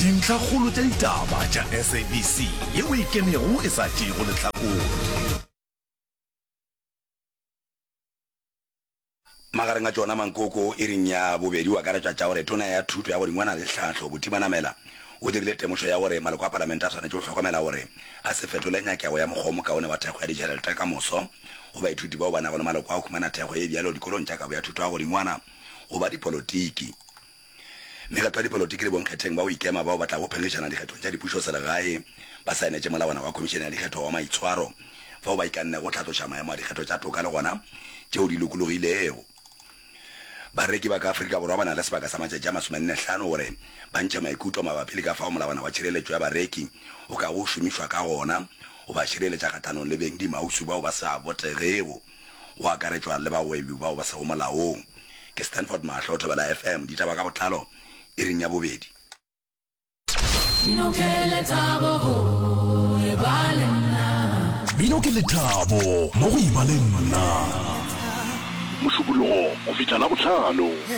Dintlhakgolo tša ditaba tša SABC yeo e kenego e sa tšeego lehlakore. Magareng a tšona mankoko iring ya bobedi o akaretšwa tša gore Tona ya Thuto ya Godingwana le Tlhahlo, Buti Manamela, o dirile temošo ya gore maloko a Palamente a swanetše go hlokomela gore a se fetole nyakego ya mokgwa o mokaone wa thekgo ya ditšhelete ka moso go baithuti bao ba nago le maloko a go humana thekgo ye bjalo dikolong tša kabo ya thuto ya godingwana go ba dipolotiki. Mekgatlo ya dipolotiki le bonkgetheng ba go ikema bao ba tlago phenkgišana dikgethong tša dipušoselegae ba saenetše molawana wa Khomišene ya Dikgetho wa Maitshwaro fao ba ikannego go hlatloša maemo a dikgetho tša toka le gona tšeo di lokologilego. Bareki ba ka Afrika Borwa ba na le sebaka sa matšatši a masomennehlano gore ba ntšhe maikutlo mabapi le ka fao molawana wa tšhireletšo ya bareki o kago šomišwa ka gona go ba šireletša kgahlanong le bengdimausu bao ba sa botegego. go akaretšwa le bagwebi bao ba sego molaong. Ke Stanford Mahlo, Thobela FM, ditaba ka botlalo iring ya bobedi. Mmino ke lethabo go e ba le nna. Mmino ke lethabo mo go e ba le nna. Mošupologo go fihla Labohlano.